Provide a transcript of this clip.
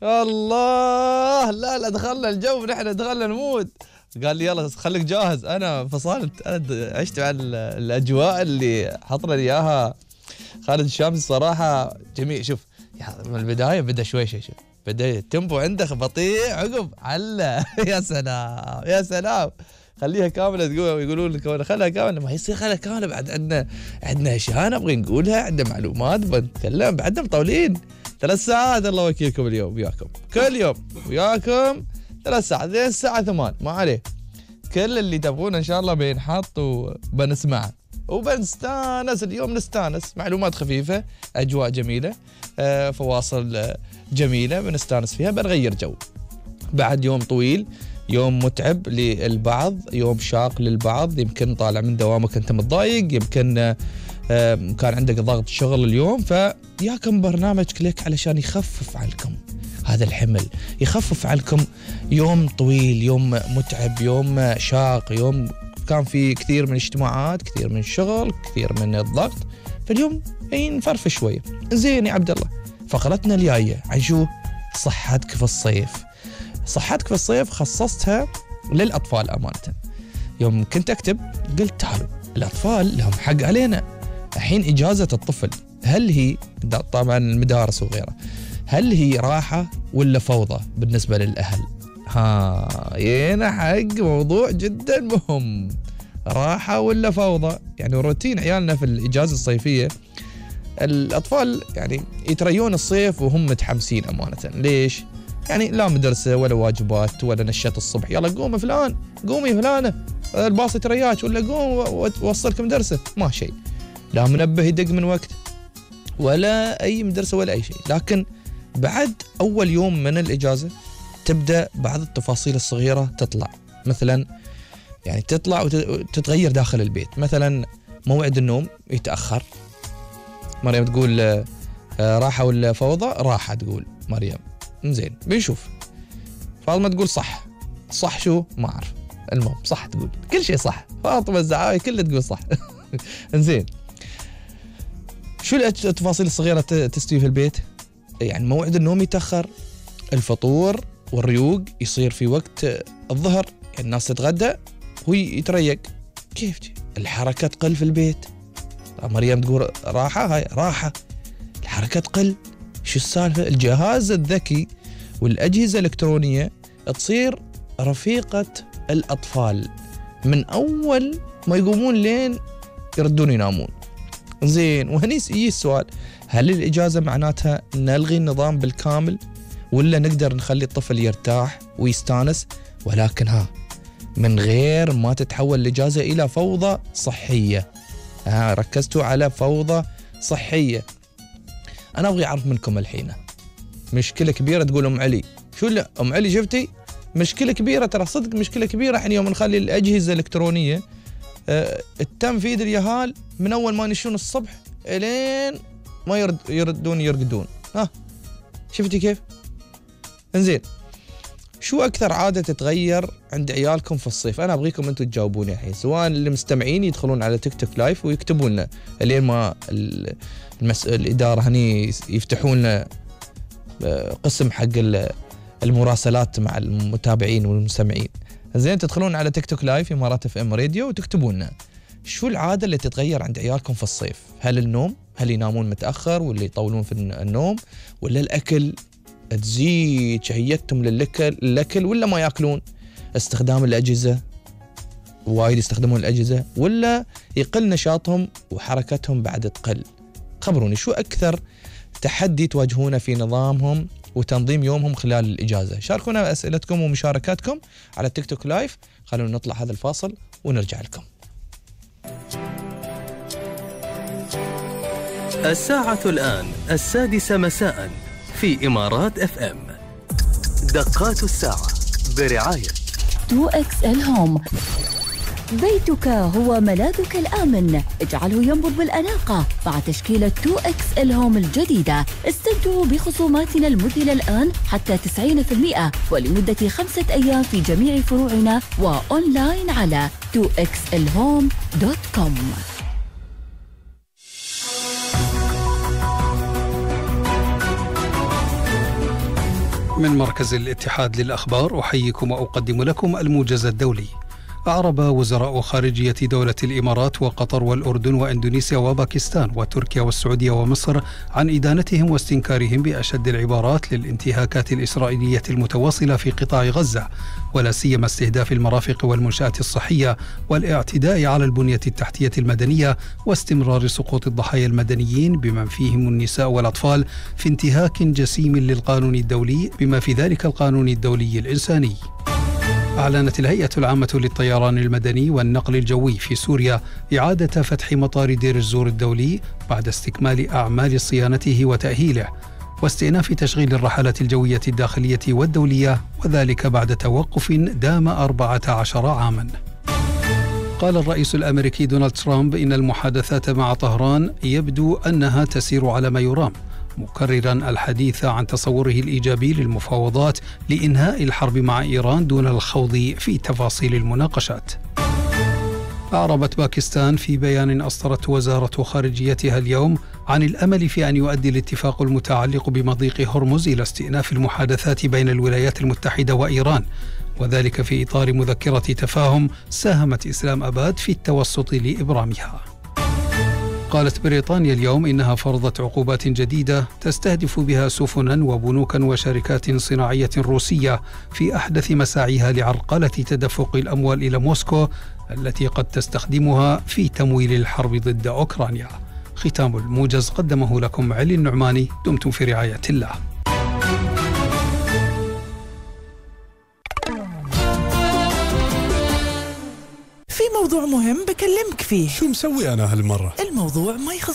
الله، لا دخلنا الجو، نحن دخلنا المود. قال لي يلا خليك جاهز. أنا فصلت، أنا عشت على الأجواء اللي حطنا إياها خالد الشامسي صراحة جميل. شوف من البداية بدأ شوي شوف بدأ التيمبو عنده بطيء، عقب علّا. يا سلام يا سلام، خليها كاملة. يقولون لك خلها كاملة، ما يصير خلها كاملة. بعد عندنا أشياء نبغي نقولها، عندنا معلومات بنتكلم، بعدنا مطولين 3 ساعات. الله وكيلكم اليوم وياكم، كل يوم وياكم 3 ساعات لين الساعة 8 ما عليه. كل اللي تبغونه إن شاء الله بينحط وبنسمعه وبنستانس. اليوم نستانس، معلومات خفيفة، أجواء جميلة، فواصل جميلة بنستانس فيها، بنغير جو بعد يوم طويل، يوم متعب للبعض، يوم شاق للبعض. يمكن طالع من دوامك أنت متضايق، يمكن كان عندك ضغط شغل اليوم، فياكم برنامج كليك علشان يخفف عنكم هذا الحمل، يخفف عنكم يوم طويل، يوم متعب، يوم شاق، يوم كان في كثير من الاجتماعات، كثير من الشغل، كثير من الضغط. فاليوم نفرفش شوية. زين يا عبد الله، فقرتنا الجاية عن شو؟ صحتك في الصيف. صحتك في الصيف خصصتها للأطفال أمانة. يوم كنت أكتب قلت تعالوا الأطفال لهم حق علينا. الحين إجازة الطفل هل هي طبعا المدارس وغيرها، هل هي راحة ولا فوضى بالنسبة للأهل؟ ينا حق موضوع جدا مهم، راحة ولا فوضى؟ يعني روتين عيالنا في الإجازة الصيفية، الأطفال يعني يتريون الصيف وهم متحمسين أمانة. ليش؟ يعني لا مدرسة ولا واجبات ولا نشاط الصبح، يلا قوم فلان، قومي فلانة، الباص يترياك، ولا قوم ووصلك مدرسة، ما شيء، لا منبه يدق من وقت ولا أي مدرسة ولا أي شيء. لكن بعد أول يوم من الإجازة تبدأ بعض التفاصيل الصغيرة تطلع، مثلا يعني تطلع وتتغير داخل البيت. مثلا موعد النوم يتأخر، مريم تقول راحة ولا فوضى؟ راحة تقول مريم. زين بنشوف. فاطمة تقول صح شو؟ ما أعرف، المهم صح تقول كل شيء صح. فاطمة الزعاوي كلها تقول صح. زين شو التفاصيل الصغيرة تستوي في البيت؟ يعني موعد النوم يتأخر، الفطور والريوق يصير في وقت الظهر، يعني الناس تتغدى هو يتريق. كيف الحركة تقل في البيت؟ مريم تقول راحة، هاي راحة، الحركة تقل. شو السالفة؟ الجهاز الذكي والأجهزة الإلكترونية تصير رفيقة الأطفال من أول ما يقومون لين يردون ينامون. زين وهني يجي السؤال، هل الإجازة معناتها نلغي النظام بالكامل ولا نقدر نخلي الطفل يرتاح ويستانس، ولكن من غير ما تتحول الإجازة إلى فوضى صحية؟ ركزتوا على فوضى صحية. أنا أبغي أعرف منكم الحين مشكلة كبيرة. تقول أم علي شو؟ لا أم علي شفتي مشكلة كبيرة، ترى صدق مشكلة كبيرة. الحين يوم نخلي الأجهزة الإلكترونية التم في يد اليهال من أول ما ينشون الصبح إلين ما يرقدون. شفتي كيف؟ انزين شو أكثر عادة تتغير عند عيالكم في الصيف؟ أنا أبغيكم أنتم تجاوبوني الحين، سواء اللي مستمعين يدخلون على تيك توك لايف ويكتبون لنا لين ما الإدارة هني يفتحون لنا قسم حق المراسلات مع المتابعين والمستمعين. زين تدخلون على تيك توك لايف إمارات اف ام راديو وتكتبون لنا شو العادة اللي تتغير عند عيالكم في الصيف؟ هل النوم؟ هل ينامون متأخر ولا يطولون في النوم؟ ولا الأكل تزيد شهيتهم للأكل ولا ما يأكلون؟ استخدام الأجهزة، وايد يستخدمون الأجهزة، ولا يقل نشاطهم وحركتهم بعد تقل؟ خبروني شو أكثر تحدي تواجهونه في نظامهم وتنظيم يومهم خلال الإجازة. شاركونا أسئلتكم ومشاركاتكم على تيك توك لايف. خلونا نطلع هذا الفاصل ونرجع لكم. الساعة الآن 6:00 مساء في إمارات اف ام. دقات الساعة برعاية 2XL هوم. بيتك هو ملاذك الآمن، اجعله ينبض بالأناقة مع تشكيلة 2XL هوم الجديدة. استمتعوا بخصوماتنا المذهلة الآن حتى 90% ولمدة 5 أيام في جميع فروعنا وأونلاين على 2xlhome.com. من مركز الاتحاد للأخبار أحييكم وأقدم لكم الموجز الدولي. أعرب وزراء خارجية دولة الإمارات وقطر والأردن وإندونيسيا وباكستان وتركيا والسعودية ومصر عن إدانتهم واستنكارهم بأشد العبارات للانتهاكات الإسرائيلية المتواصلة في قطاع غزة، ولا سيما استهداف المرافق والمنشآت الصحية والاعتداء على البنية التحتية المدنية واستمرار سقوط الضحايا المدنيين بمن فيهم النساء والأطفال في انتهاك جسيم للقانون الدولي بما في ذلك القانون الدولي الإنساني. أعلنت الهيئة العامة للطيران المدني والنقل الجوي في سوريا إعادة فتح مطار دير الزور الدولي بعد استكمال أعمال صيانته وتأهيله واستئناف تشغيل الرحلات الجوية الداخلية والدولية، وذلك بعد توقف دام 14 عاماً. قال الرئيس الأمريكي دونالد ترامب إن المحادثات مع طهران يبدو أنها تسير على ما يرام، مكرراً الحديث عن تصوره الإيجابي للمفاوضات لإنهاء الحرب مع إيران دون الخوض في تفاصيل المناقشات. أعربت باكستان في بيان أصدرته وزارة خارجيتها اليوم عن الأمل في أن يؤدي الاتفاق المتعلق بمضيق هرمز إلى استئناف المحادثات بين الولايات المتحدة وإيران، وذلك في إطار مذكرة تفاهم ساهمت إسلام أباد في التوسط لإبرامها. قالت بريطانيا اليوم إنها فرضت عقوبات جديدة تستهدف بها سفنا وبنوكا وشركات صناعية روسية في أحدث مساعيها لعرقلة تدفق الأموال إلى موسكو التي قد تستخدمها في تمويل الحرب ضد أوكرانيا. ختام الموجز قدمه لكم علي النعماني. دمتم في رعاية الله. في موضوع مهم بكلمك فيه. شو مسوي أنا هالمرة؟ الموضوع ما يخص